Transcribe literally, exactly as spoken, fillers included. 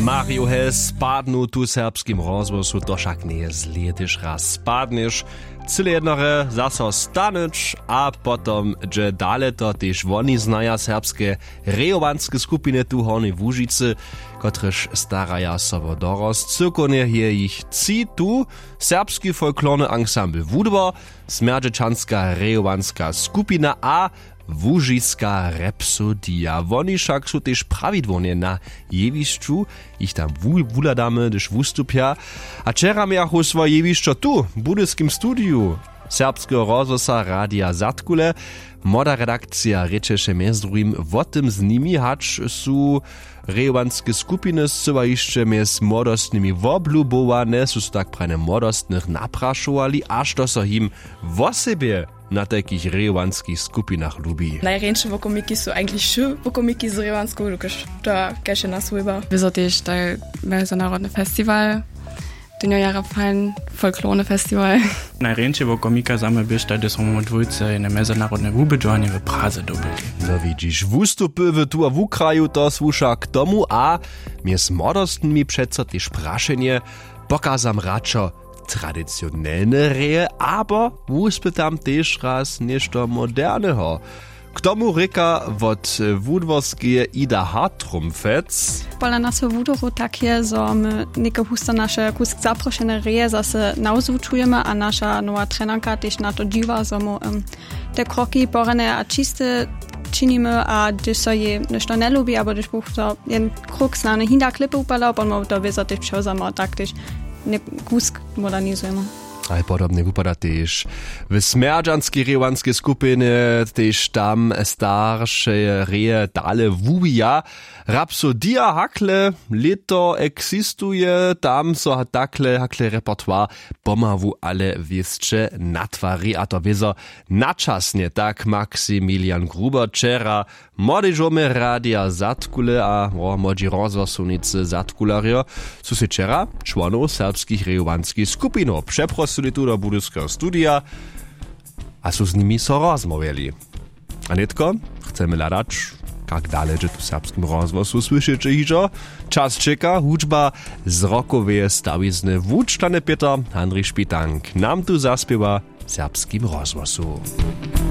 Mario Hess padnu tu w serbskim rozhłosu, to wšak njeje zlě, hdyž raz spadnješ, cyle jednorje zaso stanyć a potom dźe dale. To tež woni znaja, serbske rejowanske skupiny tu w Hornjej Łužicy, kotrež staraja so wo dorost. Cyłkownje je jich tři tu: serbski folklorny ansambl Wudwor, smjerdźećanska rejowanska skupina a łužiska Rhapsodija. Woni wšak su tež prawidłownje na jewišću, jich tam wu- wuhladamy, hdyž wustupja. A wčera mějachu swoje jewišćo tu w budyskim studiju serbskeho rozhłosa Radija Zadkule. Młoda redakcija rěčeše mjez druhim wo tym z nimi, hač su rejowanske skupiny scyła hišće mjez młodostnymi woblubowane, su so tak prajnje młodostnych naprašowali, a što so jim wosebje na tajkich rejowanskich skupinach lubi. Najrjeńše wokomiki su eigentlich wšy wokomiki z rejowansku, dokelž to kaž je nas wójba. Wězo tež taj mezonarodny festiwal, tón jo jara fajn, folklorny festiwal. Najrjeńšej wokomika za mnje běštaj, hdyž smo my dwójce jene mezonarodne wubědźowanje w Praze dobyli. No widźiš, wustupy w tu a wukraju, to słuša k tomu. A mjez młodostnymi přeco tež prašenje: pokazam radšo tradicionelne reje, abo wuspytam tež raz něšto moderneho? K tomu rěka wot wudworskeje Ida Hartrumpfetz: Pola nas w Wudworju tak je, zo my něke husto naše kusk zaprošene reje zaso nawzwučujemy a naša nowa trenarka tež na to dźiwa, zo mu em, te kroki porjane a čiste činimy, a hdyž so jej něšto njelubi abo hdyž buch to jen kruk snany hinda klěpy upadał, potom to wězo tež přewzamy a tak tež kusk modernizujemy. A podobnje wupada tež w smjerdźanskej rejowanskej skupinje, tež tam starše reje dale wuwija. Rhapsodija hakle lěto eksistuje, tam so takle hakle repertoire pomału ale wěsće natwari, a to wězo načasnje, tak Maximilian Gruber wčera młodežomje Radija Zadkule a wo młodźi rozhłosownicy Zadkulerjo su sej wčera čłonow serbskich rejowanskich skupinow přeprosyli tu do budyskeho studija a su z nimi so rozmołwjeli. A nětko chcemy hladać, kak dale dźe tu w serbskim rozhłosu, słyšeće hižo. Čas čeka, hudźba z rockoweje stawizny. Wučtany Pětr Handrich Špitank nam tu zaspěwa w serbskim rozhłosu.